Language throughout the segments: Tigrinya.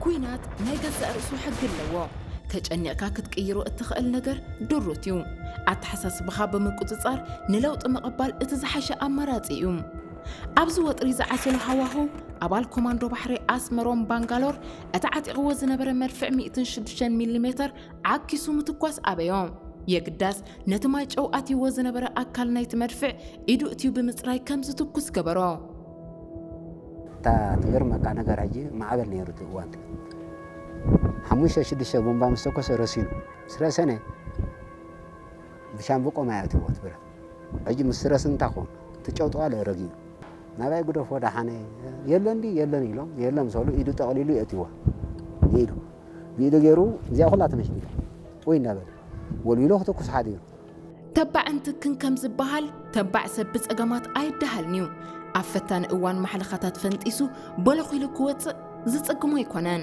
ኲናት ናይ ገዛእ ርእሱ ሕጊ ኣለዎ። ተጨኒቕካ ክትቅይሮ እትኽእል ነገር ድሩት እዩ። ኣተሓሳስባኻ ብምቁጽጻር ንለውጢ ምቕባል እቲ ዝሓሸ ኣማራጺ እዩ። ኣብዚ ወጥሪ ዝዓሰሎ ሃዋህው፣ ኣባል ኮማንዶ ባሕሪ ኣስመሮም ባንጋሎር እቲ ዓጢቕዎ ዝነበረ መድፍዕ ሚእትን ሽዱሽተን ሚሊ ሜተር ዓኪሱ ምትኳስ ኣበዮ። የግዳስ ነቲ ማይ ጨው ኣትይዎ ዝነበረ ኣካል ናይቲ መድፍዕ ኢዱ እትዩ ብምጽራይ ከም ዝትኩስ ገበሮ። እታ ትገርመካ ነገር ሕጂ ማዕበል ነይሩ እቲ እዋን እቲ ሓሙሽተ ሽዱሽተ ቦምባ ምስ ተኮሰ ረሲኑ ምስ ረሰነ ብሻምብቆ ማይ ኣትይዎ እቲ ብረት ሕጂ ምስ ረስ እንታይ ክኸውን እቲ ጨው ጠዋለ ረጊኡ ናባይ ግደፎ ደሓነ የለን ድዩ የለን ኢሎም የለን ምስ በሉ ኢዱ ጠቕሊሉ የእትይዋ ኢዱ ብኢዱ ገይሩ እዚኣ ኩላ ተመሽሚታ ወይ እናበለ ወልዊሉ ክትኩስ ሓዲሩ ተባዕን ትክን ከም ዝበሃል ተባዕ ሰብ ብጸገማት ኣይደሃልን'ዩ። ኣብ ፈታኒ እዋን ማሕለኻታት ፈንጢሱ በለኽ ኢሉ ክወጽእ ዝጽግሞ ኣይኮነን።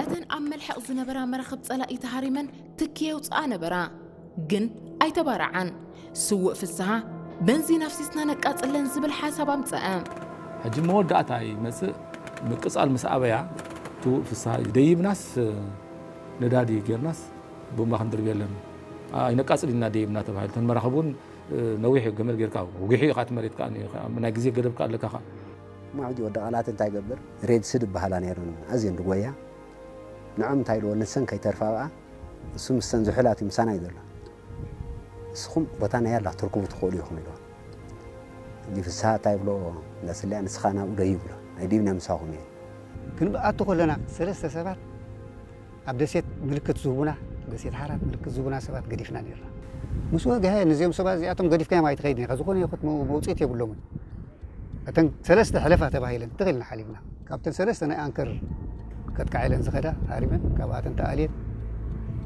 እተን ኣብ መልሕቕ ዝነበራ መራኽብ ጸላኢ ተሃሪመን ትኪ የውጽኣ ነበራ። ግን ኣይተባርዓን። ስዉእ ፍስሃ በንዚን ኣፍሲስና ነቃጽለን ዝብል ሓሳብ ኣምጸአ። ሕጂ መወዳእታ ይመጽእ ምቅጻል ምስ ኣበያ ትውእ ፍስሃ ደይብናስ ነዳዲ ጌርናስ ቦምባ ክንድርብየለን ኣይነቃጽል ኢና ደይብና ተባሂሉ እተን መራኽብ እውን ነዊሕ ገመድ ጌርካ ውግሒ ኢኻ እቲ መሬት ናይ ግዜ ገደብ ኣለካ ማዕዲ ወዲ ቃላት እንታይ ገብር ሬድ ስድ በሃላ ነይሩ ኣዝየን ድጎያ ንዖም እንታይ ኢልዎ ንሰን ከይተርፋ ብኣ እሱ ምስተን ዝሑላት እዩ ምሳና እዩ ዘሎ ንስኹም ቦታ ናይ ኣላ ትርክቡ ትኽእሉ ኢኹም ኢልዎ እንዲ ፍስሃ እንታይ ብሎ እንዳስልያ ንስኻ ናብኡ ዶ ይብሎ ኣይዲብና ምሳኹም እየ ክንብኣቱ ከለና ሰለስተ ሰባት ኣብ ደሴት ምልክት ዝህቡና ደሴት ሓራት ምልክት ዝህቡና ሰባት ገዲፍና ነርና ምስ ወግሀ ነዚኦም ሰባት እዚኣቶም ገዲፍካዮም ኣይትኸይድን ኢኻ ዝኾነ ይኹት መውፅኢት የብሎምን እተን ሰለስተ ሕለፋ ተባሂለን ትኽልና ሓሊፍና ካብተን ሰለስተ ናይ ኣንከር ከጥቃዓ ኢለን ዝኸዳ ሃሪመን ካብኣተን ተኣልየን